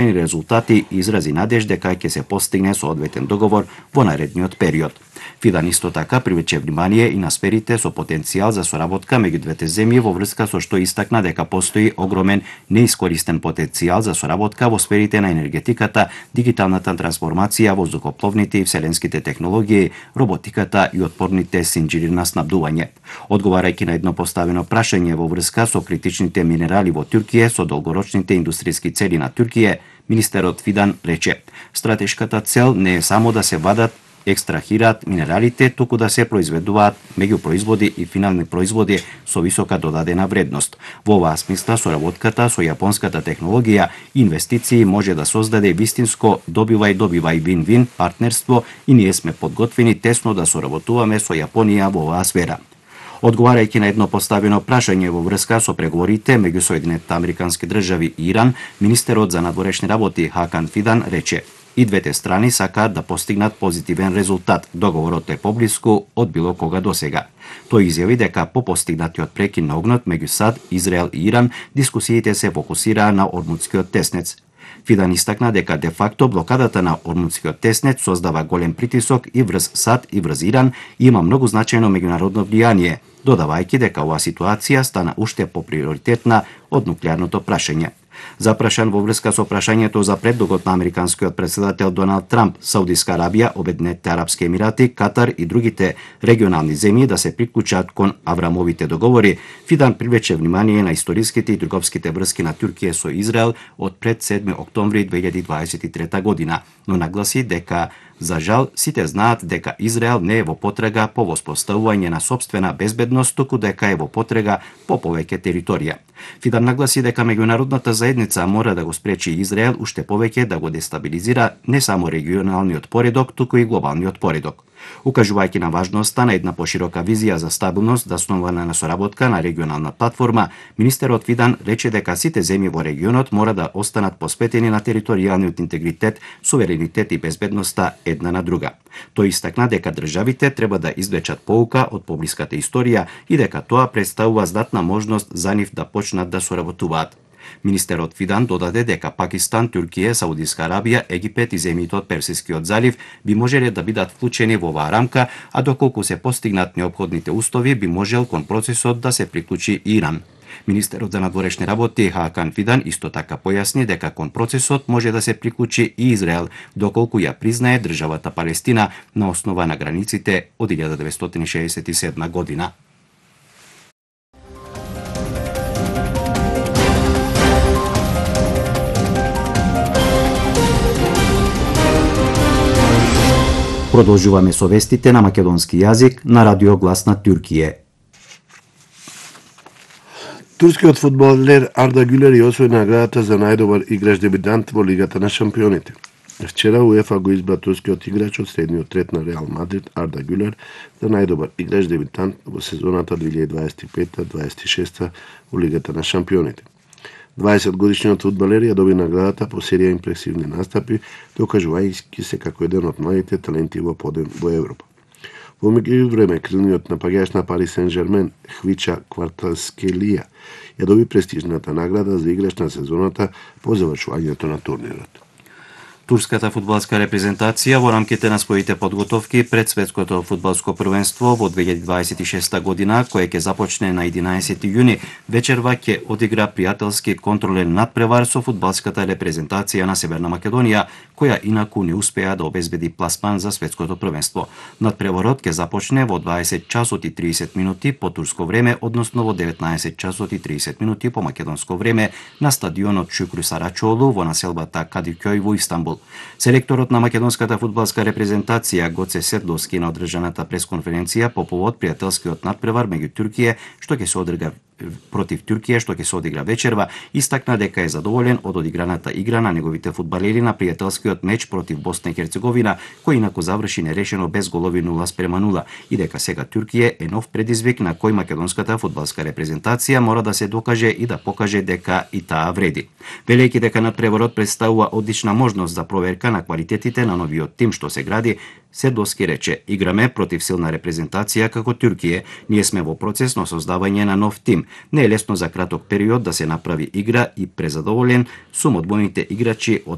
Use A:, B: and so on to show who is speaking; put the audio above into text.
A: резултати и изрази надеж дека ќе се постигне соодветен договор во наредниот период. Фидан исто така привлече внимание и на сферите со потенцијал за соработка меѓу двете земји во врска со што истакна дека постои огромен неискористен потенцијал за соработка во сферите на енергетиката, дигиталната трансформација, воздухопловните и вселенските технологии, роботиката и отпорните синџири на снабдување. Одговарајќи на едно поставено прашање во врска со критичните минерали во Туркија со долгорочните индустријски цели на Туркија, министерот Фидан рече: стратешката цел не е само да се вадат екстрахираат минералите, туку да се произведуваат меѓупроизводи и финални производи со висока додадена вредност. Во оваа смисла, соработката со јапонската технологија и инвестиции може да создаде вистинско добивај вин-вин партнерство и ние сме подготвени тесно да соработуваме со Јапонија во оваа сфера. Одговарајќи на едно поставено прашање во врска со преговорите меѓу Соединетите Американски држави и Иран, министерот за надворешни работи Хакан Фидан рече: и двете страни сакаат да постигнат позитивен резултат. Договорот е поблиску од било кога досега. Тој изјави дека по постигнатиот прекин на огнот меѓу САД, Израел и Иран, дискусиите се фокусираа на Ормудскиот теснец. Фидан истакна дека де факто блокадата на Ормудскиот теснец создава голем притисок и врз САД и врз Иран и има многу значајно меѓународно влијание, додавајќи дека оваа ситуација стана уште поприоритетна од нуклеарното прашање. Запрашан во врска со прашањето за предлогот на американскиот претседател Доналд Трамп, Саудиска Арабија, Обединетите Арапски Емирати, Катар и другите регионални земји да се приклучат кон Аврамовите договори, Фидан привлече внимание на историските и трговските врски на Туркија со Израел од пред 7 октомври 2023 година, но нагласи дека за жал сите знаат дека Израел не е во потрага по воспоставување на сопствена безбедност, туку дека е во потрага по повеќе територија. Фидан нагласи дека меѓународната заедница мора да го спречи Израел уште повеќе да го дестабилизира не само регионалниот поредок, туку и глобалниот поредок. Укажувајќи на важноста на една поширока визија за стабилност заснована на соработка на регионална платформа, министерот Фидан рече дека сите земји во регионот мора да останат посветени на територијалниот интегритет, суверенитет и безбедноста една на друга. Тој истакна дека државите треба да извлечат поука од поблиската историја и дека тоа представува здатна можност за нив да почнат да соработуваат. Министерот Фидан додаде дека Пакистан, Туркија, Саудиска Арабија, Египет и земјите од Персискиот залив би можеле да бидат вклучени во оваа рамка, а доколку се постигнат неопходните устови, би можел кон процесот да се приклучи Иран. Министерот за надворешни работи Хакан Фидан исто така појасни дека кон процесот може да се приклучи и Израел, доколку ја признае државата Палестина на основа на границите од 1967 година. Продолжуваме со вестите на македонски јазик на Радио Глас на Туркија.
B: Турскиот фудбалер Арда Гюлер ја освои наградата за најдобар играч дебитант во Лигата на шампионите. Вчера УЕФА го избра турскиот играч од средниот ред на Реал Мадрид Арда Гюлер за најдобар играч дебитант во сезоната 2025-26 во Лигата на шампионите. 20-годишниот фудбалер ја доби наградата по серија импресивни настапи, докажувајќи се како еден од младите таленти во Европа. Во меѓувреме, крилниот напаѓач на Пари Сен-Жермен Хвича Кварталскелија ја доби престижната награда за играч на сезоната по завршувањето на турнирот.
A: Турската фудбалска репрезентација во рамките на своите подготовки пред светското фудбалско првенство во 2026 година, кое ќе започне на 11 јуни, вечерва ќе одигра пријателски контролен надпревар со фудбалската репрезентација на Северна Македонија, која инаку не успеа да обезбеди пласман за светското првенство. Надпреварот ќе започне во 20 часот и 30 минути по турско време, односно во 19 часот и 30 минути по македонско време на стадионот Шукру Сарачолу во населбата Кадикјој во Истанбул. Селекторот на македонската фудбалска репрезентација Гоце Сердовски на одржаната пресконференција по повод пријателскиот надпревар меѓу Туркија што ќе се одигра против Туркија што ќе се одигра вечерва, истакна дека е задоволен од одиграната игра на неговите фудбалери на пријателскиот меч против Босна и Херцеговина, кој инаку заврши нерешено без голови 0:0 и дека сега Туркија е нов предизвик на кој македонската фудбалска репрезентација мора да се докаже и да покаже дека и таа вреди. Велејќи дека надпреварот представува одлична можност за проверка на квалитетите на новиот тим што се гради, Сердовски рече: играме против силна репрезентација како Туркија, ние сме во процес на создавање на нов тим. Не е лесно за краток период да се направи игра и презадоволен сум од војните играчи од